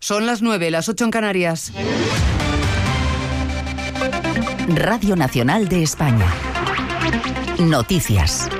Son las 9, las 8 en Canarias. Radio Nacional de España. Noticias.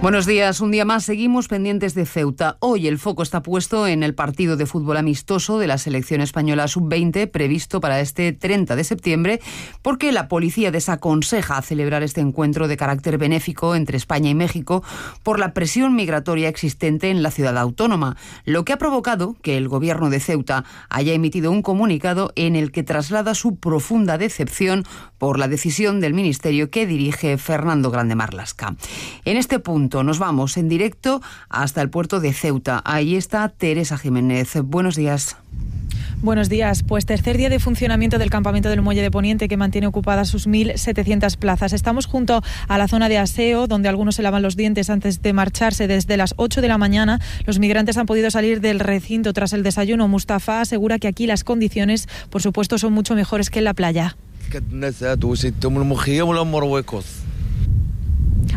Buenos días, un día más seguimos pendientes de Ceuta. Hoy el foco está puesto en el partido de fútbol amistoso de la selección española sub-20 previsto para este 30 de septiembre porque la policía desaconseja celebrar este encuentro de carácter benéfico entre España y México por la presión migratoria existente en la ciudad autónoma, lo que ha provocado que el gobierno de Ceuta haya emitido un comunicado en el que traslada su profunda decepción por la decisión del ministerio que dirige Fernando Grande Marlaska. En este punto nos vamos en directo hasta el puerto de Ceuta. Ahí está Teresa Jiménez. Buenos días. Buenos días. Pues tercer día de funcionamiento del campamento del Muelle de Poniente, que mantiene ocupadas sus 1.700 plazas. Estamos junto a la zona de aseo, donde algunos se lavan los dientes antes de marcharse. Desde las 8 de la mañana los migrantes han podido salir del recinto tras el desayuno. Mustafa asegura que aquí las condiciones, por supuesto, son mucho mejores que en la playa.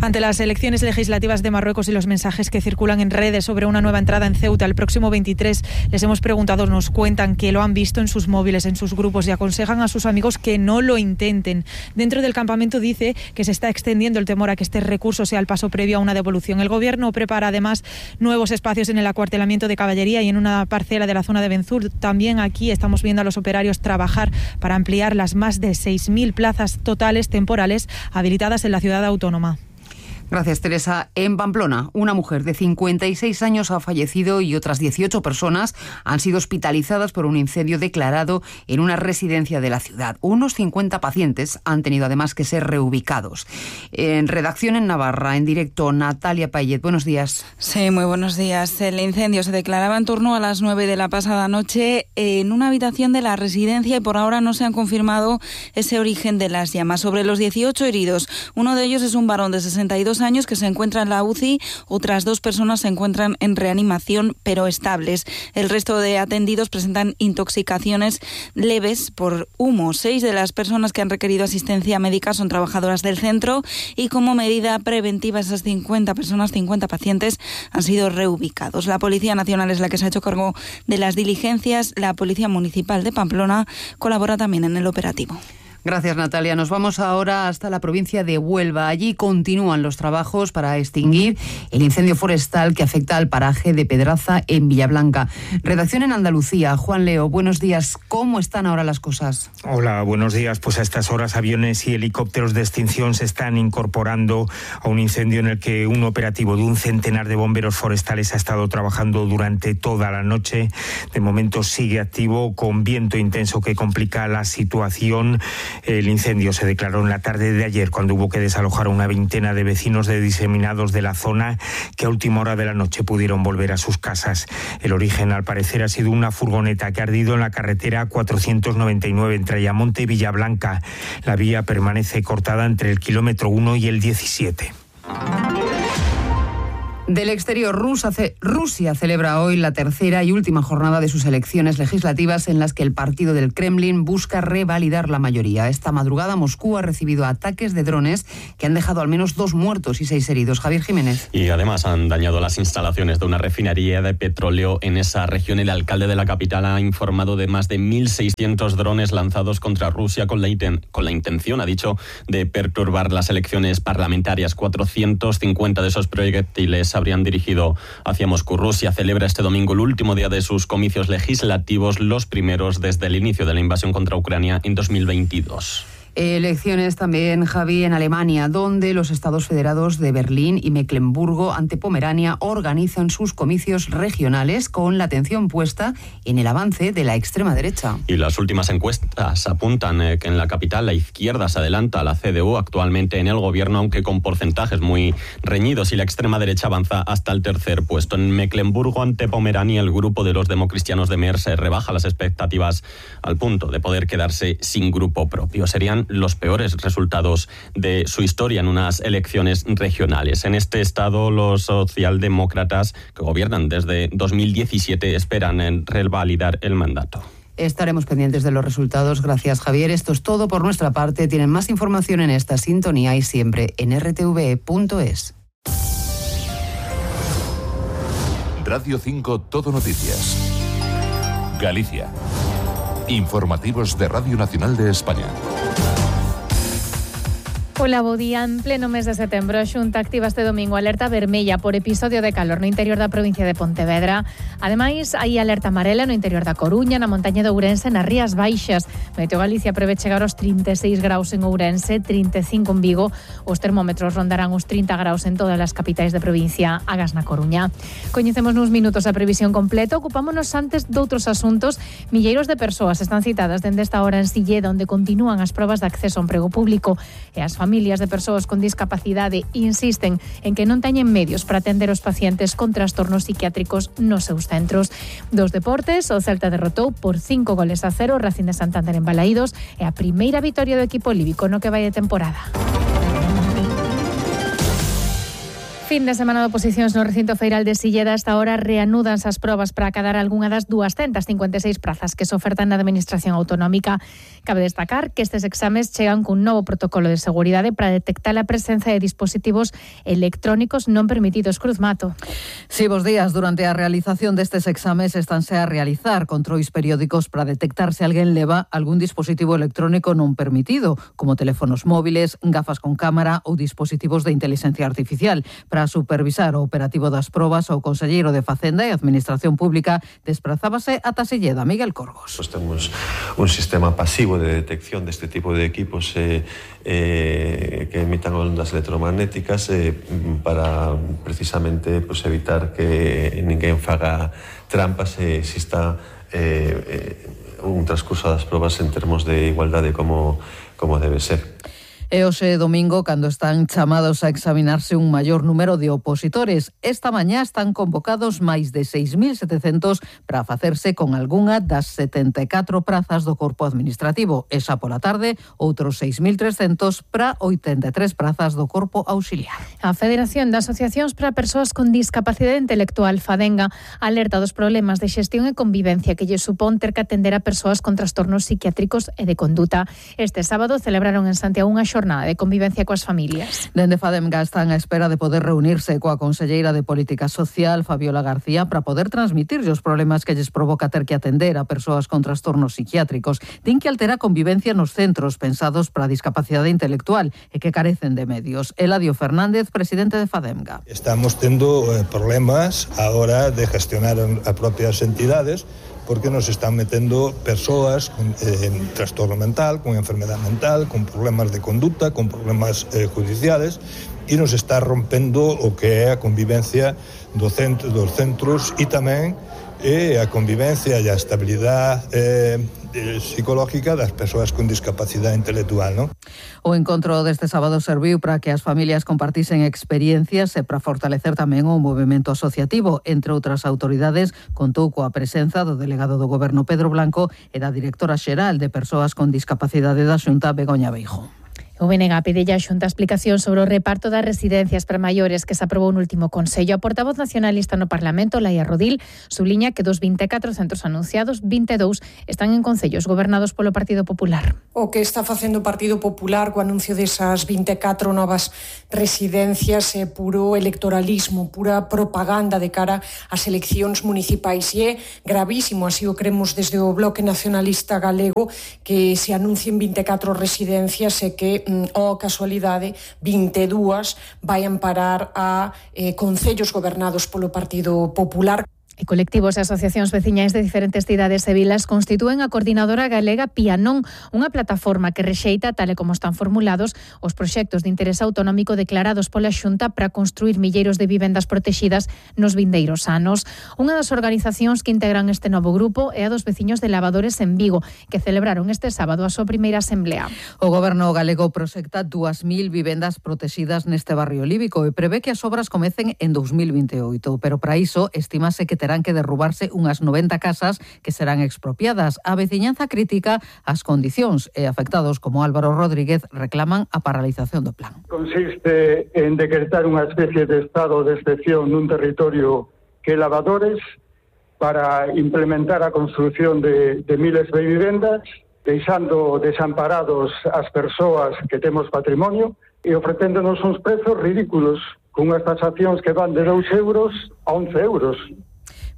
Ante las elecciones legislativas de Marruecos y los mensajes que circulan en redes sobre una nueva entrada en Ceuta el próximo 23, les hemos preguntado, nos cuentan que lo han visto en sus móviles, en sus grupos, y aconsejan a sus amigos que no lo intenten. Dentro del campamento dice que se está extendiendo el temor a que este recurso sea el paso previo a una devolución. El gobierno prepara además nuevos espacios en el acuartelamiento de caballería y en una parcela de la zona de Benzur. También aquí estamos viendo a los operarios trabajar para ampliar las más de 6.000 plazas totales temporales habilitadas en la ciudad autónoma. Gracias, Teresa. En Pamplona, una mujer de 56 años ha fallecido y otras 18 personas han sido hospitalizadas por un incendio declarado en una residencia de la ciudad. Unos 50 pacientes han tenido además que ser reubicados. En redacción en Navarra, en directo, Natalia Payet. Buenos días. Sí, muy buenos días. El incendio se declaraba en torno a las 9 de la pasada noche en una habitación de la residencia y por ahora no se han confirmado ese origen de las llamas. Sobre los 18 heridos, uno de ellos es un varón de 62 años que se encuentra en la UCI, otras 2 personas se encuentran en reanimación pero estables. El resto de atendidos presentan intoxicaciones leves por humo. 6 de las personas que han requerido asistencia médica son trabajadoras del centro y como medida preventiva esas 50 personas, 50 pacientes han sido reubicados. La Policía Nacional es la que se ha hecho cargo de las diligencias. La Policía Municipal de Pamplona colabora también en el operativo. Gracias, Natalia. Nos vamos ahora hasta la provincia de Huelva. Allí continúan los trabajos para extinguir el incendio forestal que afecta al paraje de Pedraza en Villablanca. Redacción en Andalucía. Juan Leo, buenos días. ¿Cómo están ahora las cosas? Hola, buenos días. Pues a estas horas aviones y helicópteros de extinción se están incorporando a un incendio en el que un operativo de un centenar de bomberos forestales ha estado trabajando durante toda la noche. De momento sigue activo con viento intenso que complica la situación. El incendio se declaró en la tarde de ayer cuando hubo que desalojar a una veintena de vecinos de diseminados de la zona que a última hora de la noche pudieron volver a sus casas. El origen, al parecer, ha sido una furgoneta que ha ardido en la carretera 499 entre Ayamonte y Villablanca. La vía permanece cortada entre el kilómetro 1 y el 17. Del exterior, Rusia celebra hoy la tercera y última jornada de sus elecciones legislativas en las que el partido del Kremlin busca revalidar la mayoría. Esta madrugada Moscú ha recibido ataques de drones que han dejado al menos 2 muertos y 6 heridos. Javier Jiménez. Y además han dañado las instalaciones de una refinería de petróleo en esa región. El alcalde de la capital ha informado de más de 1.600 drones lanzados contra Rusia con la intención, ha dicho, de perturbar las elecciones parlamentarias. 450 de esos proyectiles habrían dirigido hacia Moscú. Rusia celebra este domingo el último día de sus comicios legislativos, los primeros desde el inicio de la invasión contra Ucrania en 2022. Elecciones también, Javi, en Alemania, donde los estados federados de Berlín y Mecklemburgo ante Pomerania organizan sus comicios regionales con la atención puesta en el avance de la extrema derecha. Y las últimas encuestas apuntan que en la capital la izquierda se adelanta a la CDU actualmente en el gobierno, aunque con porcentajes muy reñidos, y la extrema derecha avanza hasta el tercer puesto. En Mecklemburgo ante Pomerania, el grupo de los democristianos de Merz rebaja las expectativas al punto de poder quedarse sin grupo propio. Serían los peores resultados de su historia en unas elecciones regionales. En este estado, los socialdemócratas, que gobiernan desde 2017, esperan en revalidar el mandato. Estaremos pendientes de los resultados. Gracias, Javier. Esto es todo por nuestra parte. Tienen más información en esta sintonía y siempre en rtv.es. Radio 5 Todo Noticias. Galicia. Informativos de Radio Nacional de España. Hola, bo día. En pleno mes de setembro, a Xunta activa este domingo alerta vermella por episodio de calor no interior da provincia de Pontevedra. Ademais, hai alerta amarela no interior da Coruña, na montaña de Ourense, nas Rías Baixas. Meteo Galicia prevé chegar aos 36 graus en Ourense, 35 en Vigo. Os termómetros rondarán os 30 graus en todas as capitais de provincia, agas na Coruña. Coñecemos nuns minutos a previsión completa. Ocupámonos antes doutros asuntos. Milleiros de persoas están citadas dende esta hora en Silleda, onde continúan as probas de acceso ao emprego público, e as familias de persoas con discapacidade insisten en que non teñen medios para atender os pacientes con trastornos psiquiátricos nos seus centros. Dos deportes, o Celta derrotou por 5-0 o Racing de Santander en Balaídos e a primeira vitoria do equipo líbico no que vai de temporada. Fin de semana de oposicións no recinto feiral de Silleda. Esta hora reanudanse as probas para acadar algunha das 256 prazas que se ofertan na Administración Autonómica. Cabe destacar que estes exames chegan cun novo protocolo de seguridade para detectar a presenza de dispositivos electrónicos non permitidos. Cruz Mato. Sí, bos días. Durante a realización destes exames estanse a realizar controis periódicos para detectar se alguén leva algún dispositivo electrónico non permitido, como teléfonos móviles, gafas con cámara ou dispositivos de inteligencia artificial. Para supervisar o operativo das probas, o conselleiro de Facenda e Administración Pública desprazábase ata Silleda. Miguel Corgos. Pues temos un sistema pasivo de detección deste tipo de equipos que emitan ondas electromagnéticas para precisamente evitar que ninguén faga trampas e exista un transcurso das probas en termos de igualdade como debe ser. E hoxe domingo, cando están chamados a examinarse un maior número de opositores. Esta mañá están convocados máis de 6.700 para facerse con algunha das 74 prazas do corpo administrativo. Esa pola tarde, outros 6.300 para 83 prazas do corpo auxiliar. A Federación de Asociacións para Persoas con Discapacidade Intelectual, FADENGA, alerta dos problemas de xestión e convivencia que lle supón ter que atender a persoas con trastornos psiquiátricos e de conduta. Este sábado celebraron en Santiago unha xornada de convivencia coas familias. Dende FADENGA están á espera de poder reunirse coa conselleira de Política Social, Fabiola García, para poder transmitirlle os problemas que lles provoca ter que atender a persoas con trastornos psiquiátricos. Din que altera a convivencia nos centros pensados para a discapacidade intelectual e que carecen de medios. Eladio Fernández, presidente de FADENGA. Estamos tendo problemas ahora de gestionar a propias entidades, porque nos están metendo persoas con trastorno mental, con enfermedad mental, con problemas de conduta, con problemas judiciales, e nos está rompendo o que é a convivencia dos centros e tamén a convivencia e a estabilidade psicológica das persoas con discapacidade intelectual, non? O encontro deste sábado serviu para que as familias compartisen experiencias e para fortalecer tamén o movemento asociativo. Entre outras autoridades, contou coa presenza do delegado do Goberno Pedro Blanco e da directora xeral de Persoas con Discapacidade da Xunta, Begoña Beijo. O BNG pide a Xunta explicación sobre o reparto das residencias para maiores que se aprobou no último Consello. A portavoz nacionalista no Parlamento, Laia Rodil, subliña que dos 24 centros anunciados, 22 están en concellos gobernados polo Partido Popular. O que está facendo o Partido Popular co anuncio desas 24 novas residencias é puro electoralismo, pura propaganda de cara ás eleccións municipais, e é gravísimo, así o cremos desde o Bloque Nacionalista Galego, que se anuncien 24 residencias e que casualidade, 22 vayan parar a concellos gobernados polo Partido Popular. E colectivos e asociacións veciñais de diferentes cidades e vilas constitúen a Coordinadora Galega Pianón, unha plataforma que rexeita, tal e como están formulados, os proxectos de interés autonómico declarados pola Xunta para construir milleiros de vivendas protexidas nos vindeiros anos. Unha das organizacións que integran este novo grupo é a dos veciños de Lavadores en Vigo, que celebraron este sábado a súa primeira asemblea. O Goberno galego proxecta 2.000 vivendas protexidas neste barrio líbico e prevé que as obras comecen en 2028, pero para iso estimase que terán que derrubarse unhas 90 casas que serán expropiadas. A veciñanza critica as condicións e afectados como Álvaro Rodríguez reclaman a paralización do plan. Consiste en decretar unha especie de estado de excepción nun territorio que é Lavadores para implementar a construción de miles de vivendas, deixando desamparados as persoas que temos patrimonio e ofrecéndonos uns prezos ridículos, con unhas tasacións que van de 2 euros a 11 euros.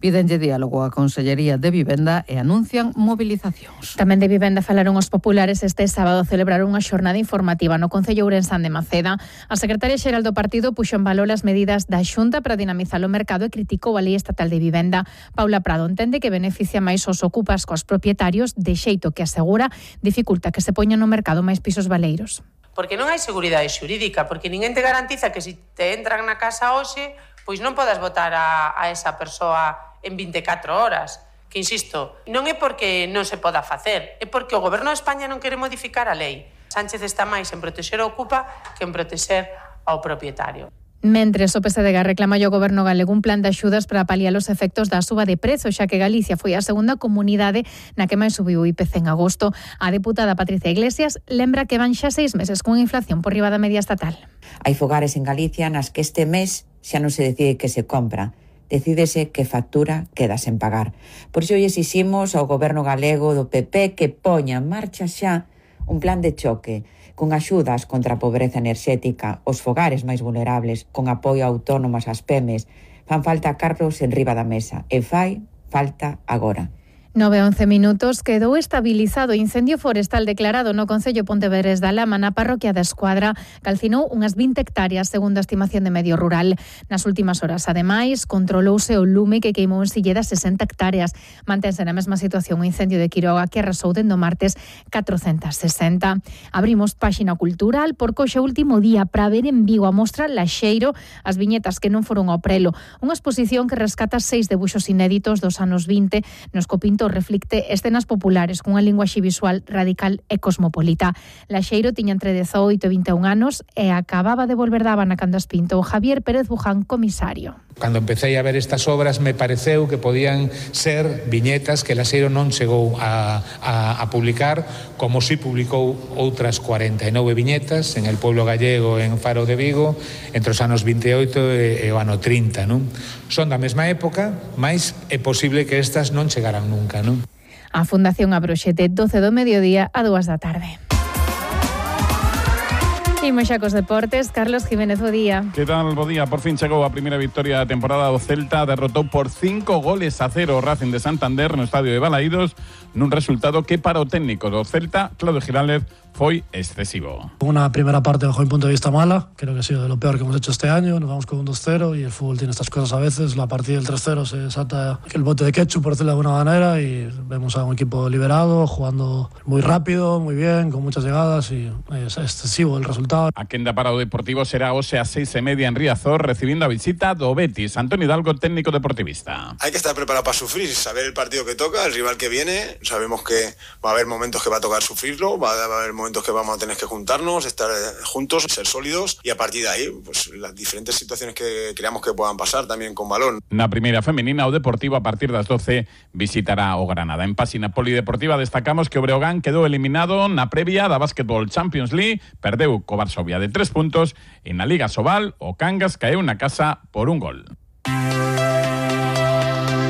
Pídenlle diálogo á Consellería de Vivenda e anuncian mobilizacións. Tamén de vivenda falaron os populares este sábado celebraron unha xornada informativa no Concello Ourensán de Maceda. A secretaria xeral do partido puxo en valor as medidas da Xunta para dinamizar o mercado e criticou a Lei Estatal de Vivenda. Paula Prado entende que beneficia máis os ocupas cos propietarios, de xeito que asegura dificulta que se poñan no mercado máis pisos baleiros. Porque non hai seguridade xurídica, porque ninguén te garantiza que se te entran na casa hoxe, pois non podas votar a esa persoa en 24 horas. Que, insisto, non é porque non se poda facer, é porque o Goberno de España non quere modificar a lei. Sánchez está máis en protexer o ocupa que en protexer ao propietario. Mentres o PSDG reclama ao Goberno galego un plan de axudas para paliar os efectos da suba de prezos, xa que Galicia foi a segunda comunidade na que máis subiu o IPC en agosto. A deputada Patricia Iglesias lembra que van xa 6 meses cunha inflación por riba da media estatal. Hai fogares en Galicia nas que este mes xa non se decide que se compra, decídese que factura queda sen pagar. Por iso exiximos ao Goberno galego do PP que poña en marcha xa un plan de choque con axudas contra a pobreza enerxética, os fogares máis vulnerables, con apoio a autónomas ás PEMES. Fan falta cartos en riba da mesa e fai falta agora. 9:11 minutos, quedou estabilizado o incendio forestal declarado no Concello Pontevedrés da Lama na parroquia da Escuadra. Calcinou unhas 20 hectáreas, segundo a estimación de Medio Rural. Nas últimas horas, ademais, controlouse o lume que queimou en Silleda 60 hectáreas. Mantense na mesma situación o incendio de Quiroga que arrasou dende o martes 460. Abrimos páxina cultural porque hoxe é o último día para ver en Vigo a mostra Laxeiro, as viñetas que non foron ao prelo. Unha exposición que rescata 6 debuxos inéditos dos anos 20, nos copintos reflicte escenas populares cunha linguaxe visual radical e cosmopolita. Laxeiro tiña entre 18 e 21 anos e acababa de volver da Habana cando as pintou Javier Pérez Buján, comisario. Cando empecé a ver estas obras me pareceu que podían ser viñetas que Laxeiro non chegou a publicar, como si publicou outras 49 viñetas en El Pueblo Gallego en Faro de Vigo entre os anos 28 e o ano 30, non? Son da mesma época, mas é posible que estas non chegaran nunca, non? A Fundación abroxe de 12 do mediodía a 2 da tarde. Imos xa cos deportes, Carlos Jiménez, bo día. Que tal, bo día? Por fin chegou a primeira victoria da temporada do Celta, derrotou por 5-0 o Racing de Santander no estadio de Balaídos, nun resultado que para o técnico do Celta, Claudio Giraldez, foi excesivo. Una primera parte bajo mi punto de vista mala, creo que ha sido de lo peor que hemos hecho este año, nos vamos con un 2-0 y el fútbol tiene estas cosas a veces, la partida del 3-0 se salta el bote de ketchup, por decirlo de alguna manera, y vemos a un equipo liberado, jugando muy rápido, muy bien, con muchas llegadas y es excesivo el resultado. A quenda para o Deportivo será hoxe a 6:30 en Riazor, recibindo a visita do Betis. Antonio Hidalgo, técnico deportivista. Hay que estar preparado para sufrir, saber el partido que toca, el rival que viene, sabemos que va a haber momentos que va a tocar sufrirlo, va a haber momentos que vamos a tener que juntarnos, estar juntos, ser sólidos y a partir de ahí, pues las diferentes situaciones que creamos que puedan pasar también con balón. Na primeira femenina, o Deportivo a partir das 12 visitará o Granada. En páxina polideportiva destacamos que o Breogán quedou eliminado na previa da Basketball Champions League, perdeu co Varsovia de 3 puntos e na Liga Sobal o Cangas caeu na casa por un gol.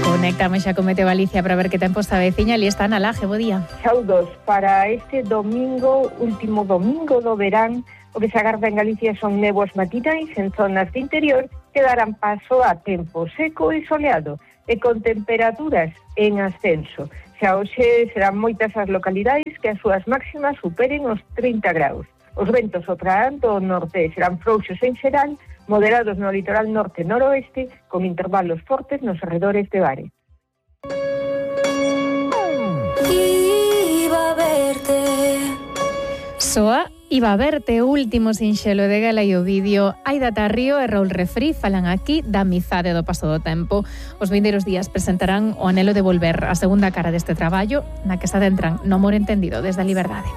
Conectamos xa con Meteo Galicia para ver que tempo está veciña. Ali está Ana Laje, bo día. Saudos para este domingo, último domingo do verán. O que se agarda en Galicia son néboas matinais en zonas de interior que darán paso a tempo seco e soleado e con temperaturas en ascenso. Xa hoxe serán moitas as localidades que as súas máximas superen os 30 graus. Os ventos soprarán do norte serán frouxos en xeral, moderados no litoral norte e noroeste, con intervalos fortes nos arredores de Vare. Iba a verte. Soa Iba a verte, o último sinxelo de Gala e o vídeo. Aida Tarrío e Raúl Refrí falan aquí da amizade do paso do tempo. Os vindeiros días presentarán o anelo de volver, a segunda cara deste traballo, na que se adentran no amor entendido desde a liberdade.